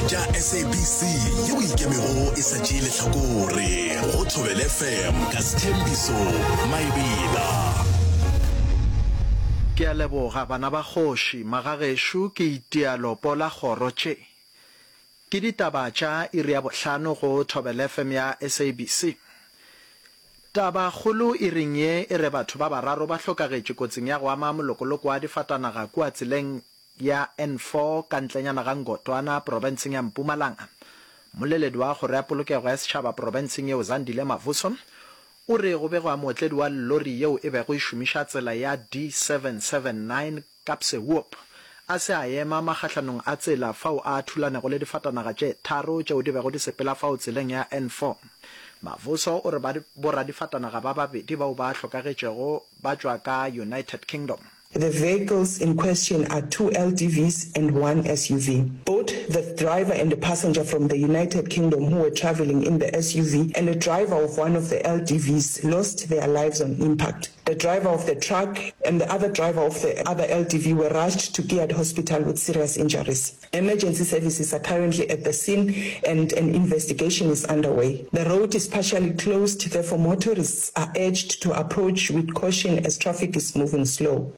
tša SABC yeo e ikemego e sa tšee lehlakore go Thobela FM ka Sthembiso Maebela. Ke a leboga bana ba kgoši, magagešo ke itia lopo la kgoro tše. Ke ditaba tša iri ya bohlano go Thobela FM ya SABC. Taba kgolo iring ye e re batho ba bararo ba hlokagetše kotsing ya go ama molokoloko wa difatanaga kua tseleng ya N4 ka ntlenyana ga Ngotwana profenseng ya Mpumalanga. Mmoleledi wa Kgoro ya Polokego ya Setšhaba profenseng yeo Zandile Mavuso o re go begwa mootledi wa llori yeo e bego e šomiša tsela ya D779 Kaapsehoop a se a ema magahlanong a tsela fao a thulanego le difatanaga tše tharo tšeo di bego di sepela fao tseleng ya N4. Mavuso o re boradifatanaga ba babedi bao ba hlokagetšego ba tšwa ka United Kingdom. The vehicles in question are two LDVs and one SUV. Both the driver and a passenger from the United Kingdom who were travelling in the SUV and a driver of one of the LDVs lost their lives on impact. The driver of the truck and the other driver of the other LDV were rushed to Kiad Hospital with serious injuries. Emergency services are currently at the scene and an investigation is underway. The road is partially closed, therefore motorists are urged to approach with caution as traffic is moving slow.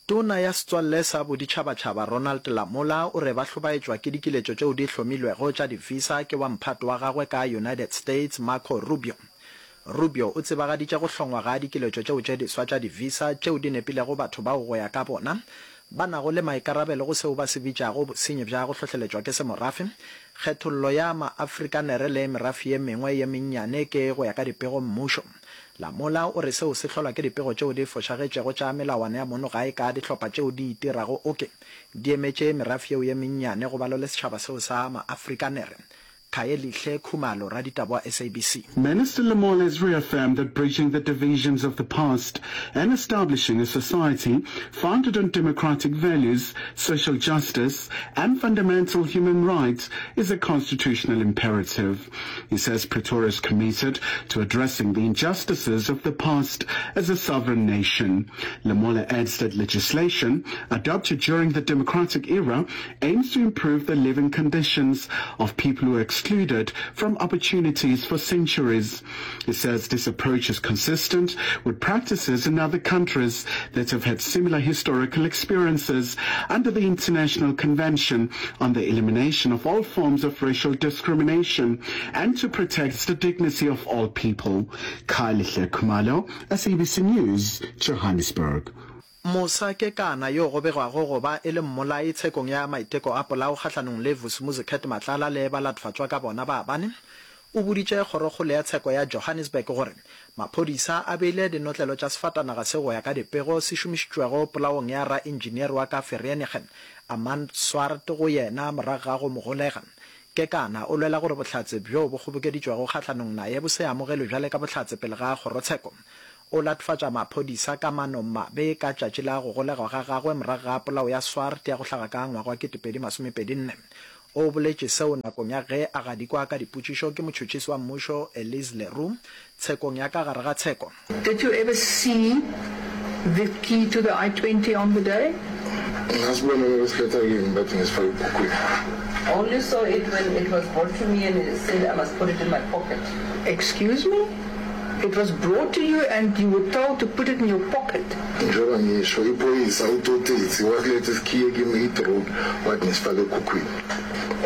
Tona ya Setswalle sa Boditšhabatšhaba Ronald Lamola o re ba hlobaetšwa ke dikiletšo tšeo di hlomilwego tša di-visa ke wa mphato wa gagwe ka United States Marco Rubio. Rubio o tsebagaditše go hlongwa ga dikiletšo tšeo tše diswa tša di-visa tšeo di nepilego batho bao go ya ka bona ba nago le maikarabelo go seo ba se bitšago bosenyi bja go hlohleletšwa ke semorafe, kgethollo ya ma-Afrikanere le merafe ye mengwe ye mennyane ke go ya ka dipego mmušo. Lamola o re seo se hlolwa ke dipego tšeo di fošagetšego tša melawana ya mono gae ka dihlopha tšeo di itirago oke di emetše merafe yeo ye mennyane go balo le setšhaba seo sa ma-Afrikanere. Khayelihle Khumalo, raditaba wa SABC. Minister Lamola has reaffirmed that bridging the divisions of the past and establishing a society founded on democratic values, social justice and fundamental human rights is a constitutional imperative. He says Pretoria is committed to addressing the injustices of the past as a sovereign nation. Lamola adds that legislation adopted during the democratic era aims to improve the living conditions of people who are excluded from opportunities for centuries. He says this approach is consistent with practices in other countries that have had similar historical experiences under the International Convention on the Elimination of All Forms of Racial Discrimination and to protect the dignity of all people. Khayelihle Khumalo, SABC News, Johannesburg. Musa Kekana, yo go begwago go ba e le mmolai tshekong ya maiteko a polao kgahlanong le Vusimuzi Cat Matlala le balatfatšwa ka bona ba bane, o boditše Kgorokgolo ya Tsheko ya Johannesburg gore maphodisa a beile dinotlelo tša sefatanaga se go ya ka dipego se šomišitšwego polaong ya raentšineere wa ka Vereeniging, Armand Swart go yena morago ga go mo golega. Kekana o lwela gore bohlatse bjo bo kgobokeditšwego kgahlanong naye bo se amogelwe bjale ka bohlatse pele ga kgorotsheko. O latofatša maphodisa ka manomabe ka tšatši la go golegwa ga gagwe morago ga polao ya Swart ya go hlaga ka ngwaga wa 2024. O boletše seo nakong ya ge a gadikwa ka dipotšišo ke motšhotšhisi wa mmušo Elise Le Roux tshekong ya ka gare ga tsheko. Did you ever see the key to the I-20 on the day? Ngasibona mabesiletha kimi bathi ngisifake ebhukwini. I only saw it when it was brought to me and it said I must put it in my pocket. Excuse me? It was brought to you and you were told to put it in your pocket. Njengoba ngisho, iphoyisa uTotetsi wasiletha isikhiye kimi eHeath Road wathi ngisifake ekhukhwini.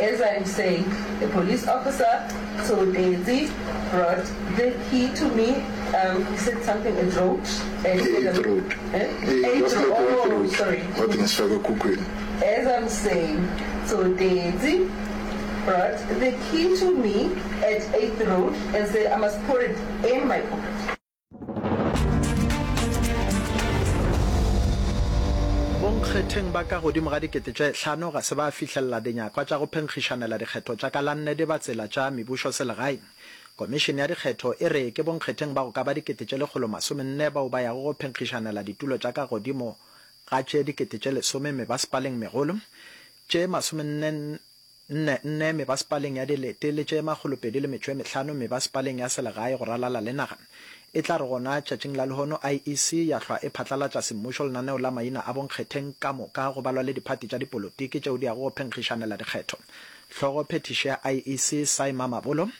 As I am saying, the police officer Tsotetsi brought the key to me, um, he said something at road. And he said, E-Heath Road. Eh? Eh, Eighth wasiletha Road, e-Heath oh, Road sorry. wathi ngisifake ekhukhwini. As I'm saying, Tsotetsi brought the key to me at 8th Road and said I must put it in my pocket. Bonkgetheng ba ka godimo ga 5000 ga se ba fihlelela dinyakwa tša go phenkgišanela dikgetho tša ka la nne di ba tsela tša mebušo selegae. Komišene ya dikgetho e re ke bonkgetheng ba go ka ba 144 bao ba yago go phenkgišanela ditulo tša ka godimo ga tše 10,000 mebasepaleng megolo, tše masomenne nne nne mebasepaleng ya dilete le tše makgolopedi le metšo e mehlano mebasepaleng ya selegae go ralala le naga. E tla re gona tšatšing la lehono IEC ya hlwa e phatlalatša semmušo lenaneo la maina a bonkgetheng ka moka go balwa le diphathi tša dipolotiki tšeo di yago go phenkgišanela dikgetho. Hlogo phethiši ya IEC Sy Mamabolo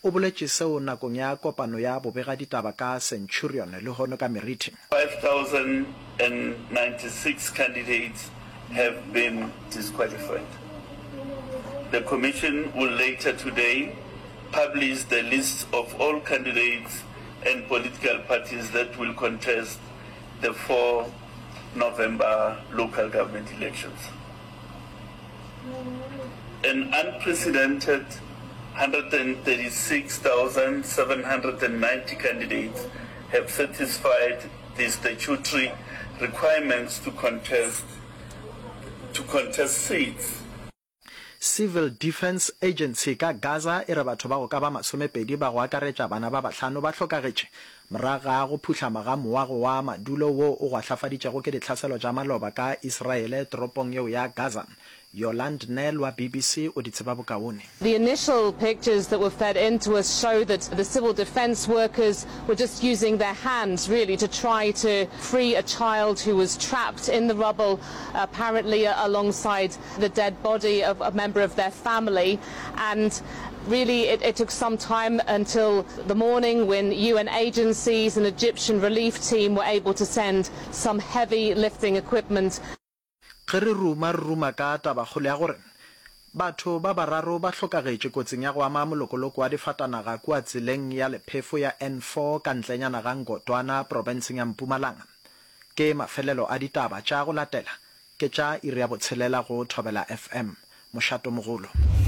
o boletše seo nakong ya kopano ya bobegaditaba ka Centurion lehono ka meriti. 5,096 candidates have been disqualified. The commission will later today publish the lists of all candidates and political parties that will contest the 4 November local government elections. An unprecedented 136,790 candidates have satisfied the statutory requirements to contest to contest seats. Civil Defence Agency ka Gaza e re batho ba go ka ba masomepedi ba go akaretša bana ba bahlano ba hlokagetše morago ga go phuhlama ga moago wa madulo wo o gwahlafaditšego ke ditlhaselo tša maloba ka Israele toropong yeo ya Gaza. Yolande Nel wa BBC o di tseba bokaone. The initial pictures that were fed in to us show that the civil defence workers were just using their hands really to try to free a child who was trapped in the rubble apparently alongside the dead body of a member of their family and really it, it took some time until the morning when UN agencies and Egyptian relief team were able to send some heavy lifting equipment. Ge re ruma, re ruma ka tabakgolo ya gore batho ba bararo ba hlokagetše kotsing ya go ama molokoloko wa difatanaga kua tseleng ya lephefo ya N4 ka ntlenyana ga Ngotwana profenseng ya Mpumalanga. Ke mafelelo a ditaba tša go latela ke tša iri ya botshelela go Thobela FM. Mošatomogolo.